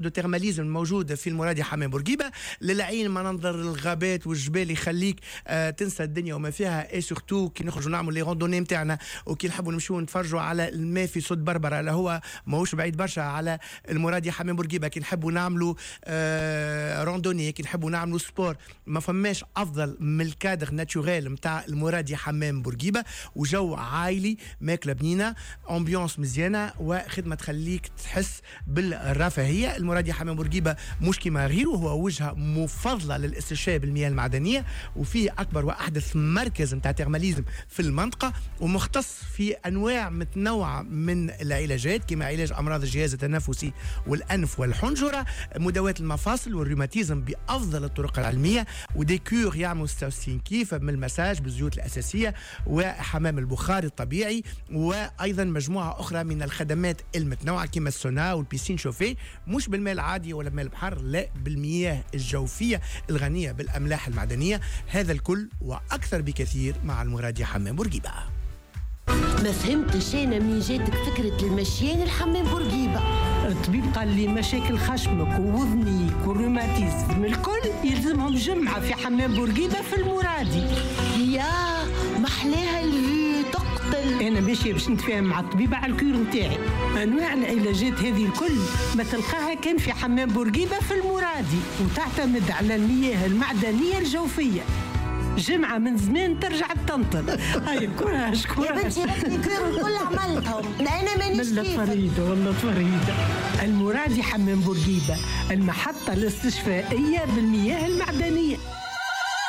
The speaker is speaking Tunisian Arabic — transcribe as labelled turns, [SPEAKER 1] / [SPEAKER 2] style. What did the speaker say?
[SPEAKER 1] de thermalisme الموجود في المرادي حمام بورقيبه. للعين منظر الغابات والجبال يخليك تنسى الدنيا وما فيها، et surtout كي نخرجوا نعملوا les randonnées نتاعنا، وكي نحبوا نمشيو نتفرجوا على الماء في سد بربره اللي هو ماهوش بعيد برشا على المرادي حمام بورقيبه، كي نحبوا نعملوا randonnée، كي نحبوا نعملوا sport، ما فماش افضل من ال cadre naturel نتاع المرادي حمام بورقيبه. وجو عائلي، ماكله بنينه، ambiance مزيانه، وخدمه تخليك تحس بالرفاهيه. المرادي حمام بورقيبة مش كما غيره، هو وجهه مفضلة للاستشفاء بالمياه المعدنيه، وفيه اكبر واحدث مركز نتاع thermalisme في المنطقه، ومختص في انواع متنوعة من العلاجات كما علاج امراض الجهاز التنفسي والانف والحنجره، مداواه المفاصل والروماتيزم بافضل الطرق العلميه، و des cures يعملوا 66 كيف من المساج بالزيوت الاساسية وحمام البخار الطبيعي، وايضا مجموعة اخرى من الخدمات المتنوعة كما السونا وال piscine chauffée، مش بالماء العادي ولا بماء البحر، لا، بالمياه الجوفيه الغنية بالاملاح المعدنيه. هذا الكل واكثر بكثير مع المرادي حمام بورقيبه.
[SPEAKER 2] ما فهمتش انا منين جاتك فكرة المشيان الحمام بورقيبه؟
[SPEAKER 3] الطبيب قال لي مشاكل خشمك ووذنيك والروماتيزم الكل يلزمهم جمعة في حمام بورقيبة في المرادي.
[SPEAKER 2] يا محلاها ال vue تقتل.
[SPEAKER 3] انا ماشية باش نتفاهم مع الطبيبة على ال cure نتاعي. انواع العلاجات هذه الكل ما تلقاها كان في حمام بورقيبة في المرادي، وتعتمد على المياه المعدنية الجوفية. جمعة من زمان ترجع تنطل. هاي courage.
[SPEAKER 2] يا
[SPEAKER 3] courage.
[SPEAKER 2] بنتي، les cures الكل عملتهم، انا مانيش
[SPEAKER 3] ملا
[SPEAKER 2] كيفك.
[SPEAKER 3] فريدة، والله فريدة. المرادي حمام بورقيبة، المحطة الاستشفائية بالمياه المعدنية.